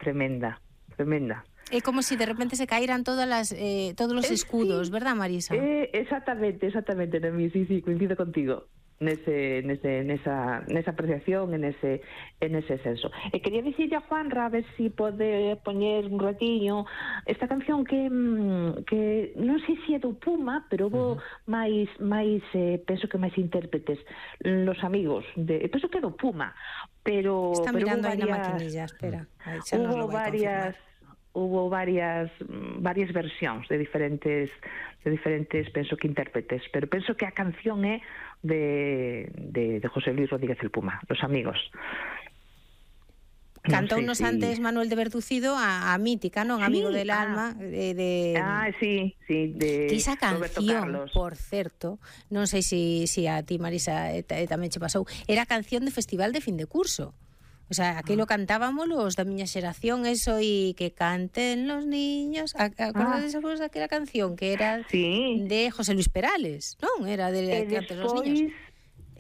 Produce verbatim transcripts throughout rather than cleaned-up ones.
tremenda, tremenda. É como se si de repente se caeran todas las, eh, todos os escudos, eh, sí, verdad, Marisa? Eh, exactamente, exactamente, Noemí, sí, sí, coincido contigo. Nese, nese, nesa, nesa apreciación, en ese, en ese senso. E quería dicirle a Juanra a ver si pode poñer un ratiño esta canción que que non sei se é do Puma, pero hubo uh-huh. máis máis eh, penso que máis intérpretes, Los Amigos de, penso que é do Puma, pero está pero mirando aí varias, na maquinilla, espera. Aí xa nos lo hubo vai varias confirmar. Hubo varias varias versións de diferentes de diferentes penso que intérpretes, pero penso que a canción é de de, de José Luis Rodríguez el Puma, Los Amigos. Cantounos no sé si... antes Manuel de Bertucido a, a mítica, non? Sí, Amigo del ah, alma de, de... Ah, sí, sí, de que esa canción, Carlos. por certo, non sei se si, si a ti, Marisa, e, e, tamén che pasou, era canción de festival de fin de curso. O sea, aquilo cantábamos los da miña xeración, eso e que canten los niños. Acordades ah. de aquela canción que era sí. de José Luis Perales, non? Era de e que canten los despois, niños.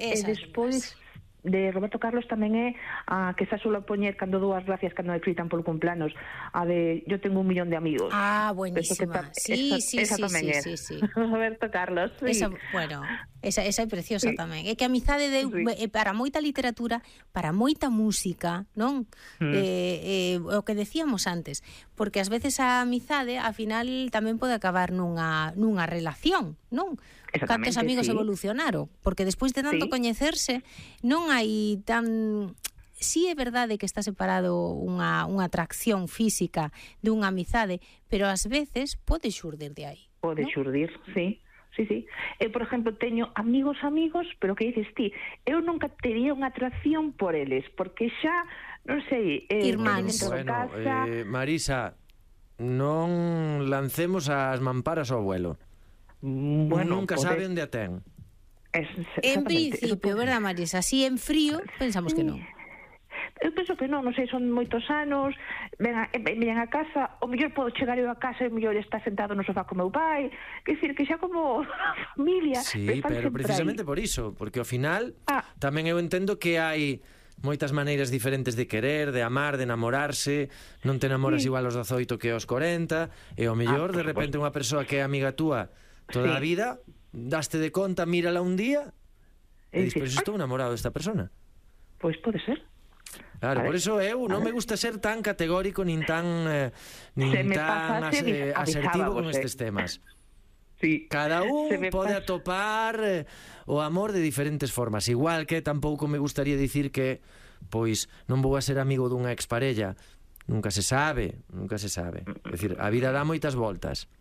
Esa, e despois de Roberto Carlos tamén é a que xa suelo poñer cando dúas gracias cando me fritan polo cumpleaños, a de Yo tengo un millón de amigos. Ah, buenísima. Sí, esa, sí, esa sí, tamén sí, é. sí, sí. Roberto Carlos, sí. Esa, bueno, esa, esa é preciosa sí. tamén. É que a amizade de, sí. para moita literatura, para moita música, non? Mm. Eh, eh, o que decíamos antes, porque ás veces a amizade, a final, tamén pode acabar nunha, nunha relación, non? Cantos amigos sí. evolucionaron, porque despois de tanto sí. coñecerse, non hai tan... Sí é verdade que está separado unha, unha atracción física dunha amizade, pero ás veces pode xurdir de aí. Pode ¿no? xurdir, sí. Sí, sí. Eu, por exemplo, teño amigos amigos, pero que dices ti, eu nunca tería unha atracción por eles, porque xa, non sei... Eh, Irmáns. Bueno, casa... eh, Marisa, non lancemos as mamparas ao vuelo. Bueno, nunca pode... sabe onde a ten. Es, en principio, verdad, Marisa? Si en frío, pensamos que non. Eu penso que non, non sei, son moitos anos, vengan, vengan a casa, o mellor podo chegar eu a casa e o mellor está sentado no sofá con meu pai, que decir, que xa como familia. Sí, pero precisamente aí. Por iso, porque ao final ah. tamén eu entendo que hai moitas maneiras diferentes de querer, de amar, de enamorarse, non te enamoras sí. igual aos dezoito que aos corenta, e ao mellor ah, de repente unha persoa que é amiga túa toda sí. a vida, daste de conta, mírala un día, e despois estou enamorado desta persona. Pois pode ser. Claro, por eso eu non me gusta ser tan categórico nin tan eh, nin tan as, eh, asertivo con estes temas. Sí. Cada un pode pasa... atopar eh, o amor de diferentes formas. Igual que tampouco me gustaría dicir que pois non vou a ser amigo dunha exparella. Nunca se sabe, nunca se sabe. É dicir, a vida dá moitas voltas.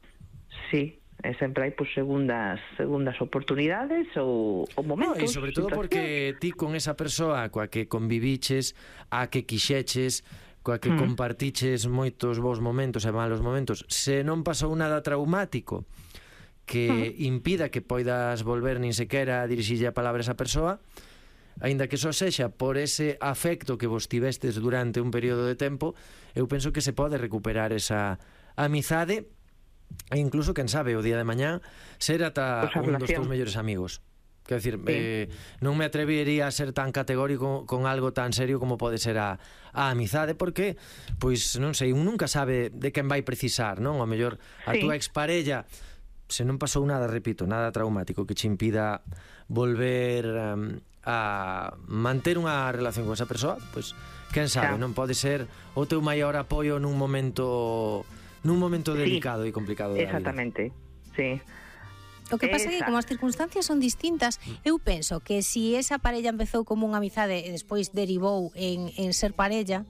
Sí. E sempre hai pues, segundas segundas oportunidades ou, ou momentos. No, e sobre todo porque ti con esa persoa coa que conviviches, a que quixeches, coa que mm. compartiches moitos bons momentos e malos momentos, se non pasou nada traumático que mm. impida que poidas volver nin sequera a dirixirlle a palabra a esa persoa, aínda que só sexa por ese afecto que vos tivestes durante un período de tempo, eu penso que se pode recuperar esa amizade. E incluso, quen sabe, o día de mañá ser ata un dos teus mellores amigos. Quero dicir, sí. eh, non me atrevería a ser tan categórico con algo tan serio como pode ser a, a amizade, porque, pois, non sei, un nunca sabe de quen vai precisar, non? O mellor a sí. túa exparella, se non pasou nada, repito, nada traumático que che impida volver um, a manter unha relación con esa persoa, pois, quen sabe, claro. non pode ser o teu maior apoio nun momento... nun momento delicado sí, e complicado da exactamente, vida. Sí. O que pasa é que como as circunstancias son distintas, eu penso que si esa parella empezou como unha amizade e despois derivou en, en ser parella,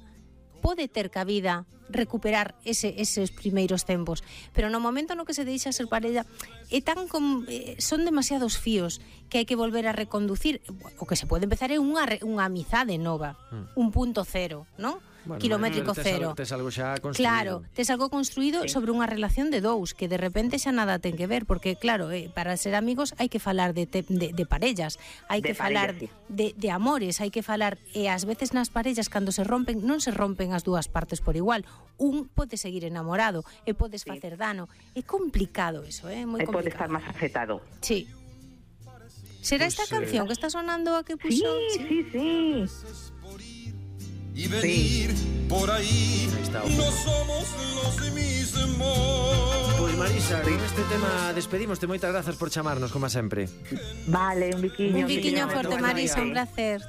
pode ter cabida recuperar ese, eses primeiros tempos, pero no momento no que se deixa ser parella é tan com, eh, son demasiados fíos que hai que volver a reconducir. O que se pode empezar é unha, unha amizade nova, mm. un punto cero, non? Bueno, kilométrico tes cero. Algo, tes algo xa construído. Claro, tes algo construído sí. sobre unha relación de dous, que de repente xa nada ten que ver, porque claro, eh, para ser amigos hai que falar de, te, de, de parellas, hai que falar sí. de, de amores, hai que falar, e ás veces nas parellas cando se rompen, non se rompen as dúas partes por igual. Un pode seguir enamorado e podes sí. facer dano. É complicado eso, é eh? moi complicado. E pode estar máis afectado. Sí. Será pues, esta canción eh... que está sonando a que puxo? Sí, sí, sí. y venir sí. por ahí, ahí está, no somos los mismos. Pois Marisa, con este tema despedimos. Moitas grazas por chamarnos, como sempre. Vale, un biquiño. Un biquiño forte, Marisa, un placer.